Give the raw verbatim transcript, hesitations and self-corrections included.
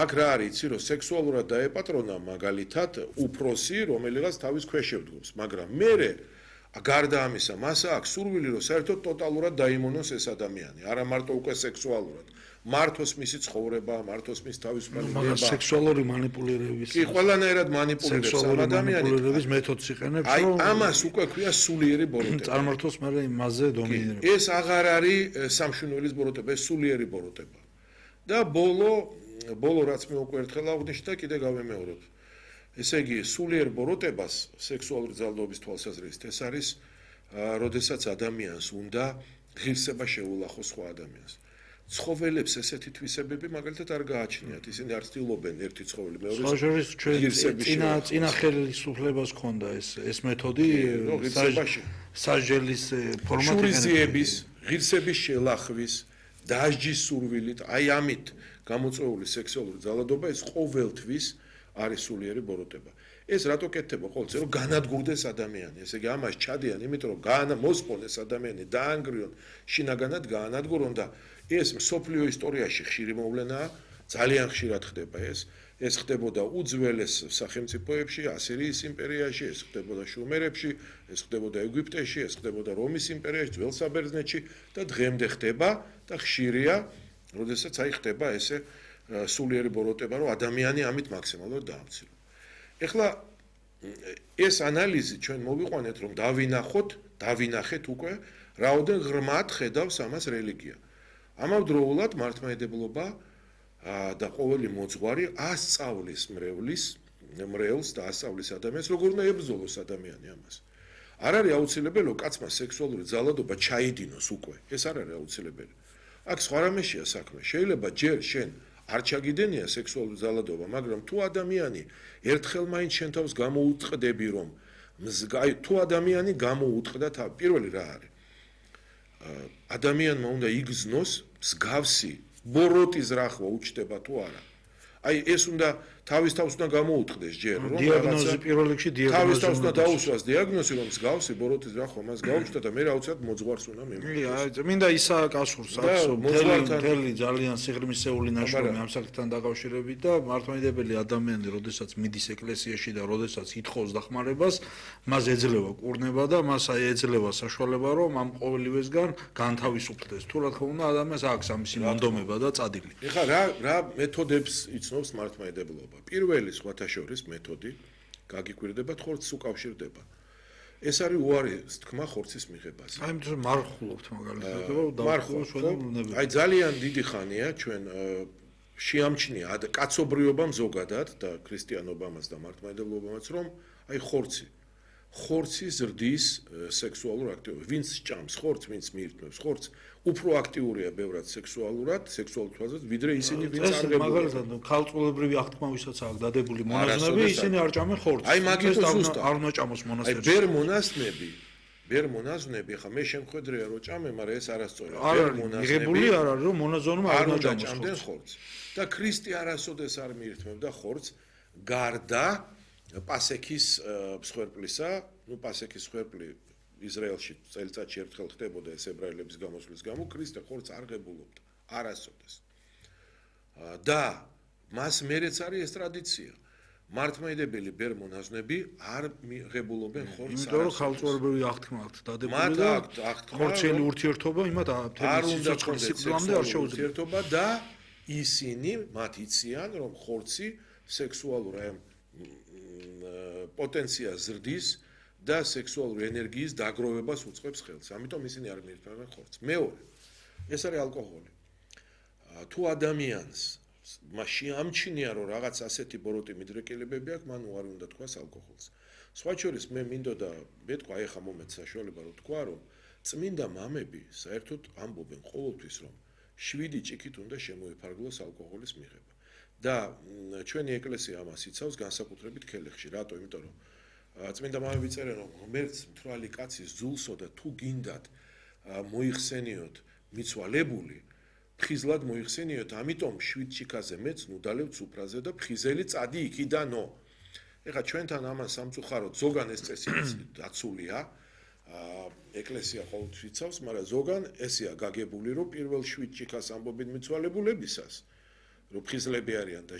აქ რა არის, იცი, რომ სექსუალურად დაეპატრონა მაგალითად უფროსი, რომელიღაც თავის ქვეშ შევდგოს, მაგრამ მერე გარდა ამისა, მას აქვს სურვილი, რომ საერთოდ ტოტალურად დაიმონოს ეს ადამიანი, არა მარტო უკვე სექსუალურად. მართოს მისი ცხოვრება, მართოს მის თავისუფალი მაგრამ სექსუალური მანიპულირების კი, ყველანაირად მანიპულირებს ამ ადამიანს. მანიპულირების მეთოდს იყენებს, აი, რომ ამას უკვე ქვია სულიერი ბოროტება. წარმართოს მაგრამ იმაზე დომინირება. ეს აღარ არის სამშვენივრების ბოროტება, ეს სულიერი ბოროტება. და ბოლო, ბოლო რაც მე უკვე ერთხელ აღვნიშნე და კიდე გავემეორებ. ესე იგი, სულიერ ბოროტებას სექსუალური ძალადობის თვალსაზრისით ეს არის, როდესაც ადამიანს უნდა ღირსება შეულახოს სხვა ადამიანს. ცხოველებს ესეთი თვისებები მაგალითად არ გააჩნიათ, ისინი არ ცდილობენ ერთი ცხოველი მეორეს ღირსების წინა წინა ხელისუფლებას ჰქონდა ეს ეს მეთოდი საჟელის ფორმატი შურიზიების, ღირსების შელახვის, დასჯის სურვილით, აი ამით გამოწვეული სექსუალური ძალადობა ეს ყოველთვის არის სულიერი ბოროტება. ეს რატო კეთდება ყოველთვის, რომ განადგურდეს ადამიანი. ესე იგი, ამას ჩადიან, იმიტომ რომ განმოსპონეს ადამიანი, დაანგრიონ, შინაგანად გაანადგურონ და ეს მსოფლიო ისტორიაში ხშირი მოვლენაა, ძალიან ხშირად ხდება ეს. ეს ხდებოდა უძველეს სახელმწიფოებში, ასირიის იმპერიაში, ეს ხდებოდა შუმერებში, ეს ხდებოდა ეგვიპტეში, ეს ხდებოდა რომის იმპერიაში, ძველ საბერძნეთში და დღემდე ხდება და ხშირია, როდესაც აი ხდება ესე სულიერი ბოროტება, რომ ადამიანი ამით მაქსიმალურად დაამციროს. ეხლა ეს ანალიზი ჩვენ მოვიყვანეთ, რომ დავინახოთ, დავინახეთ უკვე, რაოდენ ღრმად ხედავს ამას რელიგია. ამავდროულად მართლმადიდებლობა და ყოველი მოძღვარი ასწავლის მრევლის, მრევლს და ასწავლის ადამიანს, როგორ უნდა ებრძოლოს ადამიანი ამას. არ არის აუცილებელი, რომ კაცმა სექსუალური ძალადობა ჩაიდინოს უკვე. ეს არ არის აუცილებელი. აქ სხვა რამეშია საქმე. შეიძლება ჯერ შენ არ ჩაგიდენია სექსუალური ძალადობა, მაგრამ თუ ადამიანი ერთხელ მაინც შენ თავს გამოუწყდები, რომ აი თუ ადამიანი გამოუწყდა თავი, პირველი რა არის? ადამიანმა უნდა იგრძნოს მსგავსი ბოროტის რახვა უჩნდება თუ არა. აი ეს უნდა თავის თავს უნდა გამოუწყდეს ჯერ, რომ დიაგნოზი პირველ რიგში დიაგნოზი თავის თავს უნდა დაუსვას დიაგნოზი, რომ მსგავსი ბოროტის რახვა მას გაუჩნდა და მე აუცილებლად მოძღვარს უნდა მიმართოს. კი, მინდა ისააკ ასურს აქვს მთელი ძალიან სიღრმისეული ნაშრომი ამ საკითხთან დაკავშირებით და მართლმადიდებელი ადამიანი, როდესაც მიდის ეკლესიაში და როდესაც ითხოვს დახმარებას, მას ეძლევა კურნება და მას აი ეძლევა საშუალება, რომ ამ ყოველივესგან განთავისუფლდეს. თუ რა თქმა უნდა, ადამიანს აქვს ამისი მონდომება და წადილი. ეხლა რა რა მეთოდებს იცნობს მართლმადიდებლობა? პირველი სხვათა შორის მეთოდი გაგიკვირდებათ, ხორცს უკავშირდება. ეს არის უარი თქმა ხორცის მიღებაზე. აი იმიტომ რომ მარხულობთ მაგალითად, დავხულობთ. აი ძალიან დიდი ხანია ჩვენ შეამჩნია კაცობრიობამ ზოგადად და ქრისტიანობამაც და მართლმადიდებლობამაც, რომ აი ხორცი ხორცი ზრდის სექსუალურ აქტივობას. ვინც ჭამს ხორცს, ვინც მიირთმევს ხორცს, უფრო აქტიურია ბევრად სექსუალურად, სექსუალურ თვალსაზრისით, ვიდრე ისინი, ვინც არ ღებულობენ. მაგალითად, ქალწულებრივი აღთქმა ვისაც აქვს დადებული მონაზვნები, ისინი არ ჭამენ ხორცს. აი მაგითო ზუსტად არ უნდა ჭამოს მონაზვნები. აი ბერ მონაზვნები, ბერ მონაზვნები, ხა მე შემხედრია რომ ჭამე, მაგრამ ეს არასწორია. ბერ მონაზვნები მიღებული არ არის, რომ მონაზვნმა არ უნდა ჭამდნენ ხორცს. და ქრისტე არასოდეს არ მიირთმევდა ხორცს, გარდა პასექის მსხვერპლისა, ну პასექის მსხვერპლი ისრაელში წელიწადში ერთხელ ხდებოდა ეს ებრაელების გამოსვლის გამო, ქრისტე ხორცს არ ღებულობდა, არასოდეს. და მას მერეც არის ეს ტრადიცია. მართლმადიდებელი ბერ მონაზვნები არ ღებულობენ ხორცს. იმიტომ რომ ქალწულებრივი აღთქმა აქვს დადებული და ხორცელი ურთიერთობა იმათ არ უნდა სიკვდილამდე არ შეუძლია ურთიერთობა და ისინი მათ იციან, რომ ხორცი სექსუალურ აი პოტენციას ზრდის და სექსუალური ენერგიის დაგროვებას უწყობს ხელს. ამიტომ ისინი არ მიირთმევენ ხორცს. მეორე, ეს არის ალკოჰოლი. თუ ადამიანს მასში ამჩნია, რომ რაღაც ასეთი ბოროტი მიდრეკილებები აქვს, მან უარი უნდა თქვას ალკოჰოლს. სხვა შორის მე მინდოდა მეთქვა, აი ხა მომეც საშუალება რომ თქვა, რომ წმინდა მამები საერთოდ ამბობენ ყოველთვის, რომ შვიდი ჭიქით უნდა შემოიფარგლოს ალკოჰოლის მიღება. და ჩვენი ეკლესია ამას იცავს განსაკუთრებით ქელეხში. რატო? იმიტომ რომ წმინდა მამები წერენ, რომ ღმერთს მთვრალი კაცის ძულსო და თუ გინდათ მოიხსენიოთ მიცვალებული, ფხიზლად მოიხსენიოთ, ამიტომ შვიდ ჭიქაზე მეც ნუდალევ ცუფრაზე და ფხიზელი წადი იქიდანო. ეხლა ჩვენთან ამას სამწუხაროდ ზოგან ეს წესი დაცულია, ეკლესია ყოველთვის იცავს, მაგრამ ზოგან ესეა გაგებული, რომ პირველ შვიდ ჭიქას ამბობენ მიცვალებულებისას, რომ ფხიზლები არიან და